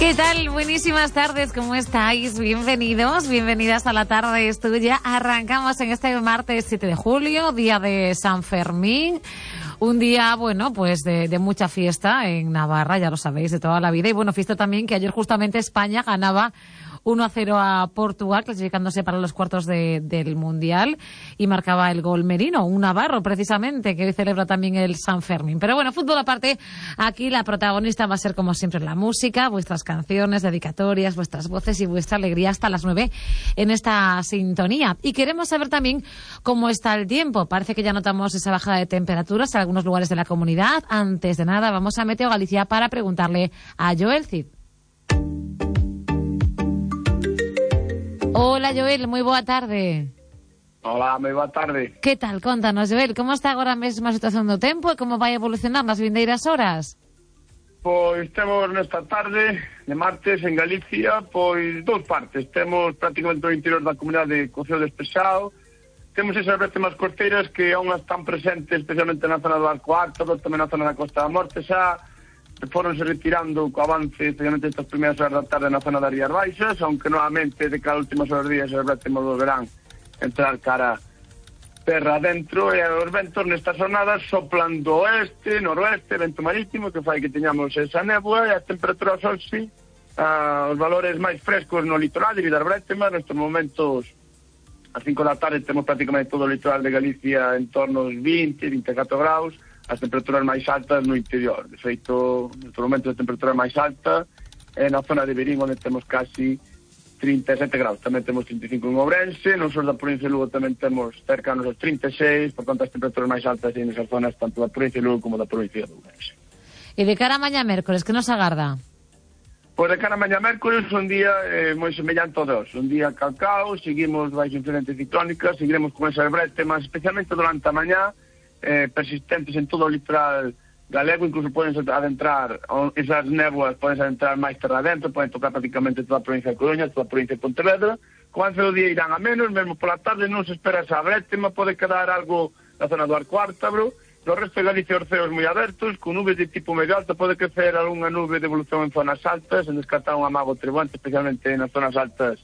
¿Qué tal? Buenísimas tardes, ¿cómo estáis? Bienvenidos, bienvenidas a La Tarde es Tuya. Arrancamos en este martes 7 de julio, día de San Fermín. Un día, bueno, pues de mucha fiesta en Navarra, ya lo sabéis, de toda la vida. Y bueno, fiesta también que ayer justamente España ganaba 1-0 a Portugal, clasificándose para los cuartos del Mundial, y marcaba el gol Merino, un navarro precisamente, que hoy celebra también el San Fermín. Pero bueno, fútbol aparte, aquí la protagonista va a ser como siempre la música, vuestras canciones, dedicatorias, vuestras voces y vuestra alegría hasta las 9 en esta sintonía. Y queremos saber también cómo está el tiempo. Parece que ya notamos esa bajada de temperaturas en algunos lugares de la comunidad. Antes de nada, vamos a Meteo Galicia para preguntarle a Joel Cid. Hola, Joel, moi boa tarde. Hola, moi boa tarde. Que tal? Contanos, Joel, como está agora mesmo a situación do tempo e como vai evolucionar nas vindeiras horas? Pois temos nesta tarde de martes en Galicia, pois dous partes. Temos prácticamente o interior da comunidade co ceo despexado. Temos esas bretemas costeiras que aún están presentes, especialmente na zona do Arco Alto, tamén na zona da Costa da Morte, xa foronse retirando co avance, especialmente estas primeiras horas da tarde na zona das Rías Baixas, aunque novamente de cada últimas horas días as bretemas volverán entrar cara terra adentro, e os ventos nestas jornadas soplan do oeste, noroeste, vento marítimo, que fai que teñamos esa néboa, e as temperaturas son sí, os valores máis frescos no litoral debido ás bretemas. Nestes momentos a 5 da tarde temos prácticamente todo o litoral de Galicia en torno aos 20-24 graus, as temperaturas máis altas no interior. De feito, nestes momentos a temperatura máis alta é na zona de Verín, onde temos casi 37 graus. Tamén temos 35 en Ourense, no sur da provincia de Lugo tamén temos cercanos aos 36, por tanto as temperaturas máis altas en esas zonas tanto da provincia de Lugo como da provincia de Ourense. E de cara a mañá mércores, que nos agarda? Pois de cara a mañá mércores, un día moi semellante ao dos, un día calcao, seguimos baixo influencia ciclónica, seguiremos con esas bretemas, especialmente durante a mañá, persistentes en todo o litoral galego, incluso poden adentrar, esas néboas poden adentrar máis terra adentro, poden tocar prácticamente toda a provincia de Coruña, toda a provincia de Pontevedra. Co avance do día irán a menos, mesmo pola tarde non se espera esa brétema, pode quedar algo na zona do Arco Ártabro. No resto de Galicia os ceos moi abertos, con nubes de tipo medio alto, pode crecer algunha nube de evolución en zonas altas, en descartar un amago treboante, especialmente nas zonas altas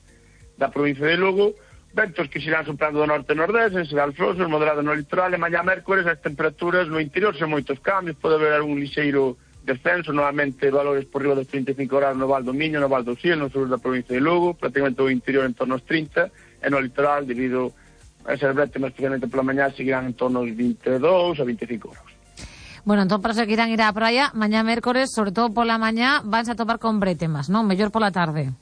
da provincia de Lugo. Ventos que se irán soprando do norte e nordeste, en Sedal Flosos, moderado no litoral, e mañá mércores as temperaturas no interior son moitos cambios, pode haber algún lixeiro descenso, novamente valores por riba dos 35 grados no Val do Miño, no Val do Sil, no sur da provincia de Lugo, prácticamente o interior en torno aos 30, e no litoral, debido a esas bretemas, especialmente pola mañá, seguirán en torno aos 22 a 25 grados. Bueno, entón, para os que queiran ir á praia, mañá mércores, sobre todo pola mañá, vanse a topar con bretemas, non? Mellor pola tarde.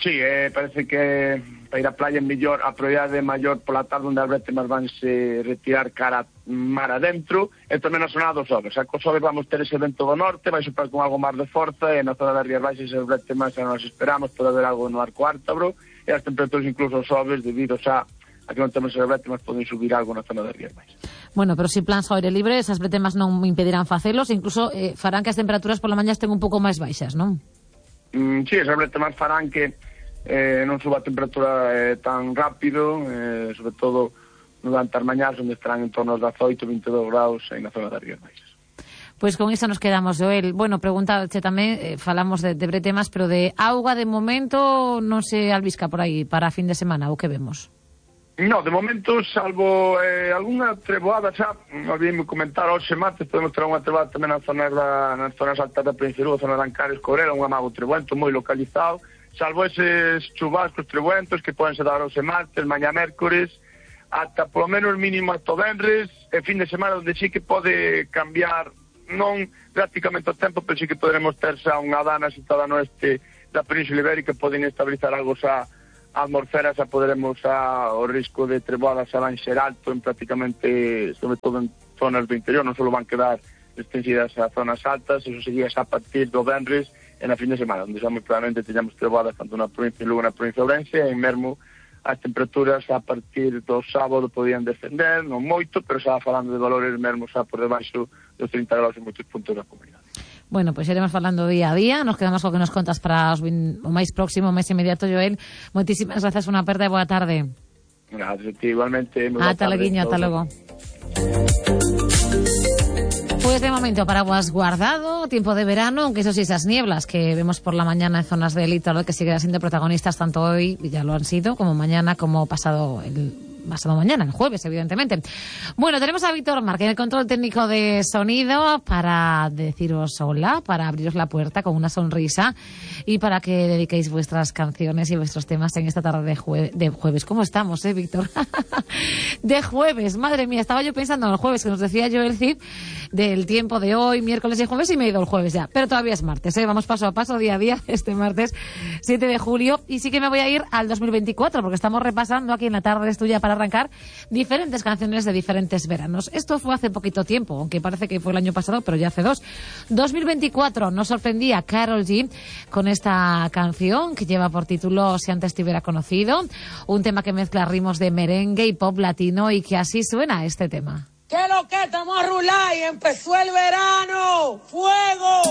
Sí, parece que para ir á playa é mellor, a probabilidade maior pola tarde, onde as bretemas vanse retirar cara mar adentro, e tamén na zona dos Oves. A cos Oves vamos ter ese vento do norte, vai soprar con algo máis de forza, e na zona das Rías Baixas as bretemas xa nos esperamos, pode haber algo no Arco Ártabro, e as temperaturas incluso os Oves, debido xa a que non temos as bretemas, poden subir algo na zona das Rías Baixas. Bueno, pero si plans ao aire libre, esas bretemas non impedirán facelos, incluso farán que as temperaturas pola mañá estén un pouco máis baixas, non? Sí, esas bretemas farán que non suba a temperatura tan rápido, sobre todo durante as mañás, onde estarán en torno aos 18-22 graus na zona das Rías Baixas. Pois con iso nos quedamos, Joel. Bueno, preguntache tamén, falamos de bretemas, pero de auga de momento non se albisca por aí para a fin de semana, o que vemos? No, de momento, salvo algunha treboada, xa, olvidei comentar, hoxe martes podemos ter unha treboada tamén nas zonas altas da provincia de Lugo, zona de Ancares, Corela, un amago treboento moi localizado, salvo eses chubascos trebuentos que poden se dar hoxe martes, mañá mércores, ata polo menos mínimo ata o venres, e fin de semana onde sí que pode cambiar, non prácticamente o tempo, pero sí que poderemos ter xa unha dana situada no este da Península Ibérica, pode inestabilizar algo xa a atmosfera, xa poderemos xa o risco de treboada xa van ser alto en prácticamente, sobre todo en zonas do interior, non só van quedar extensidas a zonas altas, eso sería xa a partir do venres e na fin de semana, onde xa moi probablemente teñamos treboadas tanto na provincia de Lugo na provincia de Ourense, e mesmo as temperaturas a partir do sábado podían descender, non moito, pero xa falando de valores mesmo xa por debaixo dos 30 graus en moitos puntos da comunidade. Bueno, pois iremos falando día a día, nos quedamos co que nos contas para o máis próximo, o máis inmediato, Joel. Moitísimas grazas, unha aperta e boa tarde. Gracias, igualmente. Ata logo. Pues de momento paraguas guardado, tiempo de verano, aunque eso sí, esas nieblas que vemos por la mañana en zonas del litoral que siguen siendo protagonistas tanto hoy, y ya lo han sido, como mañana, como pasado mañana, el jueves, evidentemente. Bueno, tenemos a Víctor Marque en el control técnico de sonido para deciros hola, para abriros la puerta con una sonrisa y para que dediquéis vuestras canciones y vuestros temas en esta tarde de jueves. ¿Cómo estamos, Víctor? De jueves, madre mía, estaba yo pensando en el jueves que nos decía yo el Cid del tiempo de hoy, miércoles y jueves, y me he ido el jueves ya, pero todavía es martes, vamos paso a paso, día a día, este martes 7 de julio, y sí que me voy a ir al 2024 porque estamos repasando aquí en la tarde tuya para arrancar diferentes canciones de diferentes veranos. Esto fue hace poquito tiempo, aunque parece que fue el año pasado, pero ya hace 2. 2024 nos sorprendía Karol G con esta canción que lleva por título Si antes te hubiera conocido, un tema que mezcla ritmos de merengue y pop latino y que así suena este tema. ¿Qué lo que estamos a rular y empezó el verano? ¡Fuego!